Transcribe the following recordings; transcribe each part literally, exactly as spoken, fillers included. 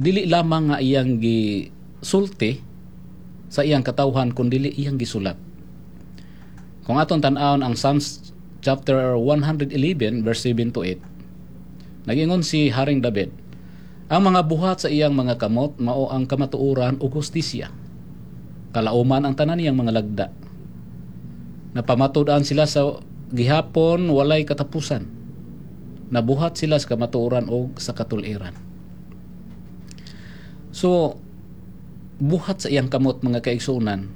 Dili lamang nga iyang gisulti sa iyang katawhan, kun dili iyang gisulat. Kung aton tan-awon ang Psalms chapter one hundred eleven verse seven to eight, nagingon si Haring David, ang mga buhat sa iyang mga kamot mao ang kamatuoran ug hustisya. Kalauman ang tanan niyang mga lagda. Napamatud-an sila sa gihapon walay katapusan. Nabuhat sila sa kamatuoran og sa katuliran. So, buhat sa iyang kamot, mga kaigsuonan,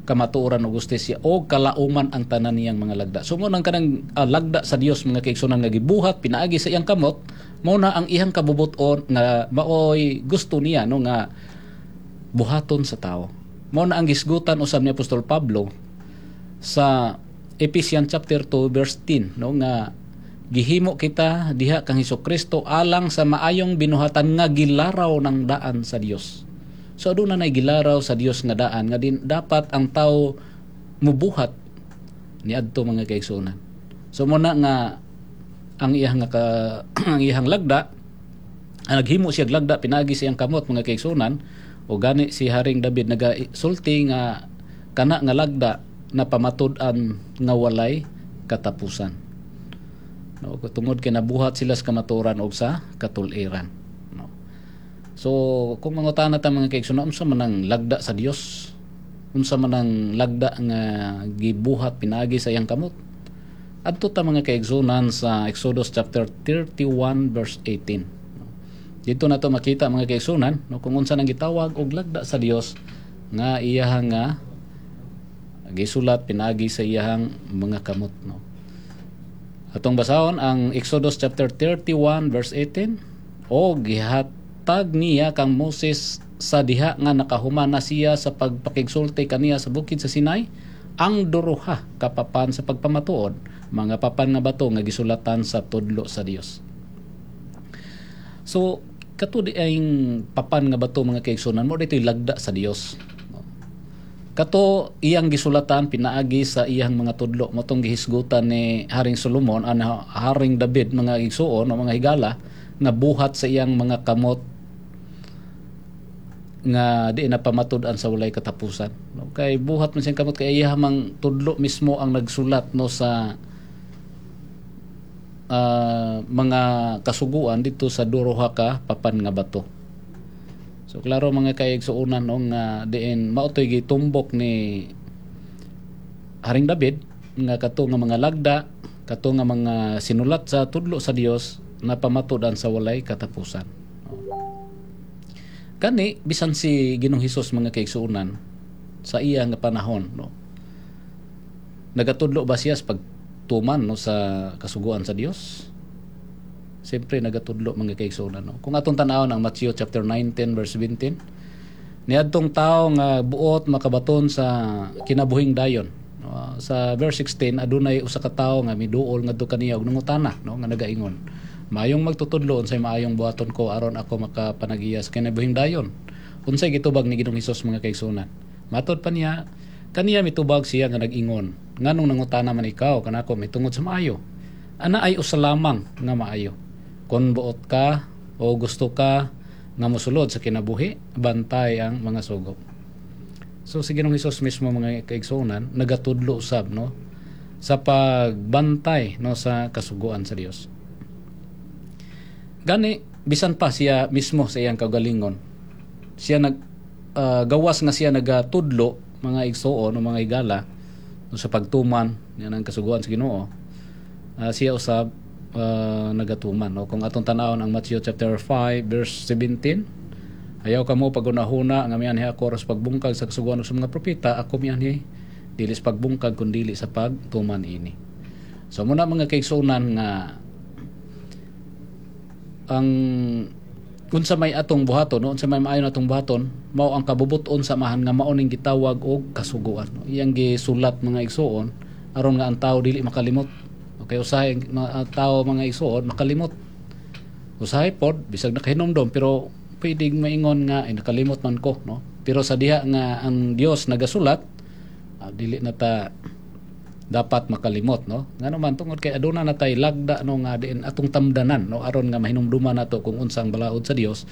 kamatuoran ug hustisya o kalauman ang tanan niyang mga lagda. So mo nang kanang uh, lagda sa Dios, mga kaigsuonan, nga gibuhat pinaagi sa iyang kamot, mao na ang iyang kabubuton nga maoy gusto niya, no, nga buhaton sa tao. Mao na ang gisgutan usab ni Apostol Pablo sa Ephesians chapter two verse ten, no, nga gihimo kita diha kang Hesukristo alang sa maayong binuhatan nga gilaraw ng daan sa Dios. So aduna nay gilaraw sa Dios nga daan nga din dapat ang tao mubuhat niadto, mga kaigsuonan. So mo na nga ang iyang nga ka, ang iyang lagda, ang naghimo siya lagda pinaagi sa iyang kamot, mga kaigsuonan, o gani si Haring David nagasulti nga kana nga lagda na pamatud-an nga walay katapusan. No, tungod kay nabuhat sila sa kamatuoran og sa katuliran. No. So, kung mangutana ta, mga kaigsuonan, unsa man ang lagda sa Dios? Unsa man ang lagda nga gibuhat pinaagi sa iyang kamot? Adto ta, mga kaigsuonan, sa Exodus chapter thirty-one verse eighteen. Dito na to makita, mga kaigsuonan, no, kung unsa nang gitawag og lagda sa Dios nga iyahang nga gisulat pinaagi sa iyahang mga kamot, no. Atong basahon ang Exodus chapter thirty-one verse eighteen: "O gihatag niya kang Moses sa diha nga nakahuman na siya sa pagpakigsulti kaniya sa bukid sa Sinai ang duruha ka papan sa pagpamatuod, mga papan nga bato nga gisulatan sa tudlo sa Dios." So kato di ay papan nga bato, mga kaigsuonan, mo dito'y lagda sa Dios. Kato iyang gisulatan pinaagi sa iyang mga tudlo, mo tong gihisgutan ni Haring Solomon, an Haring David, mga igsuon o mga higala, nga buhat sa iyang mga kamot nga di na pamatud-an sa walay katapusan, no? Kay buhat man siyang kamot, kay iya mang tudlo mismo ang nagsulat, no, sa uh, mga kasuguan dito sa duruha ka papan nga bato. So klaro, mga kaigsuonan, no, nga diin mao to'y gitumbok ni Haring David nga kato nga mga lagda, kato nga mga sinulat sa tudlo sa Dios na pamatud-an sa walay katapusan. Kani bisan si Ginoong Hesus, mga kaigsuonan, sa iya nga panahon, no. Nagatudlo ba siya sa pagtuman, no, sa kasuguan sa Dios? Siyempre nagatudlo, mga kaigsuonan, no. Kung atong tan-awon ang Matthew chapter nineteen verse seventeen, niadtong tao nga buot makabaton sa kinabuhing dayon. No, sa verse sixteen, adunay usa ka tawo nga miduol ngadto kaniya og nangutana, no, nga nagaingon, "Maayong magtutudlo, unsay maayong buhaton ko aron ako makapanagiya sa kinabuhing dayon?" Unsay gitubag ni Ginoong Hesus, mga kaigsuonan? Matod pa niya, kaniya mitubag siya nga nag-ingon, "Nganong nangutana man ikaw kanako mitungod sa maayo? Ana ay usa lamang nga maayo. Kung buot ka o gusto ka nga mosulod sa kinabuhi, bantay ang mga sugo." So si Ginoong Hesus mismo, mga kaigsuonan, nagatudlo usab, no, sa pagbantay, no, sa kasuguan sa Dios. Gani bisan pa siya mismo sa iyang kaugalingon, siya nag uh, gawas nga siya nagatudlo, mga igsuon o mga higala, no, sa pagtuman yan ang kasuguan sa Ginoo, uh, siya usab uh, nagatuman, no. Kung atong tan-awon ang Matthew chapter five verse seventeen, "Ayaw kamo pagunahuna nga mianhi ako aron sa pagbungkag sa kasuguan sa mga propeta. Ako mianhi dili sa pagbungkag kun dili sa pagtuman ini." So muna, mga kaigsuonan, nga ang unsa may atong buhaton, no, unsa may maayo natong buhaton, mao ang kabubuton sa Amahan nga mao ning gitawag og kasuguan, no. Iyang gisulat, mga igsuon, aron nga ang tao dili makalimot. Okay, usahay mga tao, mga igsuon, makalimot. Usahay pod bisag nakahinumdom, pero pwedeng maingon nga ay nakalimot man ko, no. Pero sa diha nga ang Dios nagasulat, uh, dili na ta dapat makalimot, no, ngano man tungod kay aduna na tay lagda, no, nga diin atong tamdanan, no, aron nga mahinumduman nato kung unsang balaod sa Dios.